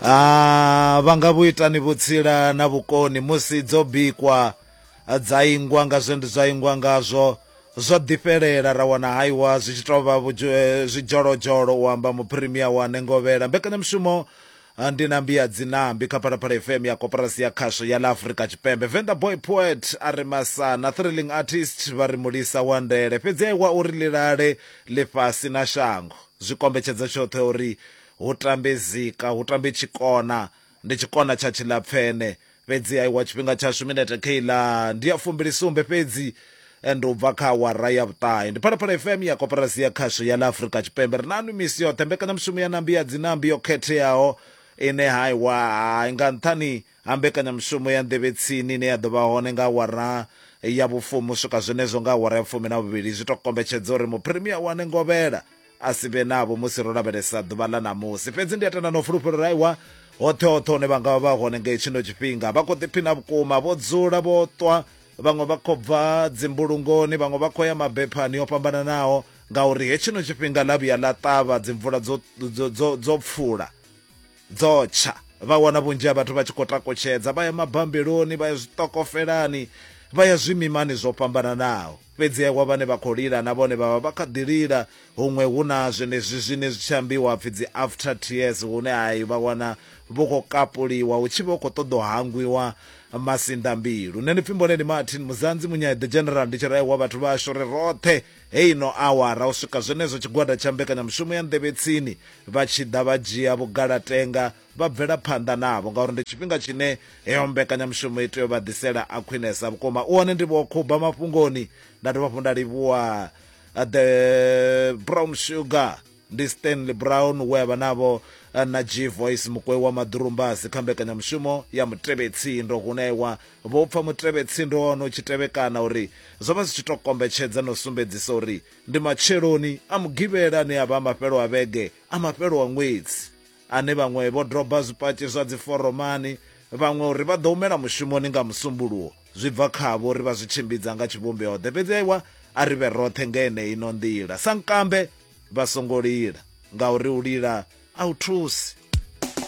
Ah, vha nga vhu itani vhutsila na vhukoni musi dzo bikwa dza ingwa nga zwe zwa ingwa ngazwo zwo ḓifhelela ra wana haiwa zwi tshi tou vha zwidzholodzholo u amba muphirimia wa Nengovhela. Mbekanyamushumo ndi nambi ya dzinambi kha Phalaphala FM ya Koporasi ya Khasho ya ḽa Afrika Tshipembe. Venḓa Boy Poet a ri Masana, Thrilling Artist vha ri Mulisa wa Ndele. Fhedzi aiwa uri ḽi lale ḽifhasi na shango zwi kombetshedza tshoṱhe uri Hu tambe zika, hu tambe tshikona, ndi tshikona tsha tshilapfene. Fhedzi aiwa tshifhinga tshashu minete kheiḽa ndi ya fumbilisumbe fhedzi ndi u bva kha awara ya vhuṱahe. Ndi Phalaphala FM ya Koporasi ya Khasho ya ḽa Afrika Tshipembe. Ri na nwi misi yoṱhe mbekanyamushumo ya Nambi ya Dzinambi yo khetheaho ine haiwa hai nga nṱhani ha mbekanyamushumo ya nḓevhetsini ine ya ḓo vha hone nga awara ya vhufumi u swika zwenezwo nga awara ya vhufumi na vhuvhili zwi tou kombetshedza uri muphirimia wane ngovhela a si vhe navho musi ro lavhelesa ḓuvha ḽa ṋamusi. Fhedzi ndi a tenda na u fulufhela uri aiwa hoṱhe hoṱhe hune vha nga vha hone nga hetshino tshifhinga vha khou ḓiphina vhukuma, vho dzula vho ṱwa, vhaṅwe vha khou bva dzimbulungoni, vhaṅwe vha khou ya mabephani o fhambananaho ngauri hetshino tshifhinga ḽa vhuya ḽa ṱavha dzimvula dzo, dzo, dzo, dzo pfula dzo tsha vha wana vhunzhi ha vhathu vha tshi khou takutshedza vha ya mabambeloni vha ya zwiṱokofelani vha ya zwimimani zwo fhambananaho fhedzi aiwa vhane vha khou lila na vhone vha vha vha kha ḓi lila huṅwe hu na zwenezwi zwine zwi tshi ambiwa pfhi dzi after tears hune hai vha wana vho khou kapuliwa hu tshi vha hu khou ṱoḓa u hangwiwa masinḓambilu nṋe ndi pfhi Mboneni Martin Muzanzi Munyayi the General ndi tshi raiwa vhathu vhashu ri roṱhe heino awara u swika zwenezwo tshigwada tsha mbekanyamushumo ya nḓevhetsini vha tshi ḓa vha dzhia vhugalatenga vha bvela phanḓa navho ngauri ndi tshifhinga tshine heyo mbekanyamushumo i tea u vha ḓisela a khwinesa vhukuma. U hone ndi vho khuba mafhungoni nda dovha hafhu nda livhuwa uh, the brown sugar ndi Stanley Brown we a vha navho uh, na G Voice mukwei wa maḓurumbasi kha mbekanyamushumo ya mutevhetsindo hune wa vho pfa mutevhetsindo wa hone u tshi tevhekana uri zwo vha zwi tshi tou kombetshedza na u sumbedzisa uri Ndi matsheloni a Mugivhela ane a vha a mafhelo a vhege a mafhelo a ṅwedzi, ane vhaṅwe vho doba zwipatshi zwa dziforomani, vhaṅwe uri vha ḓo humela mushumoni nga Musumbuluwo. Zwi bva khavho uri vha zwi tshimbidza nga tshivhumbeo-ḓe. Fhedzi aiwa, a ri vhe roṱhe nga yeneyi ino nḓila. Sankambe vha songo lila, ngauri u lila a hu thusi.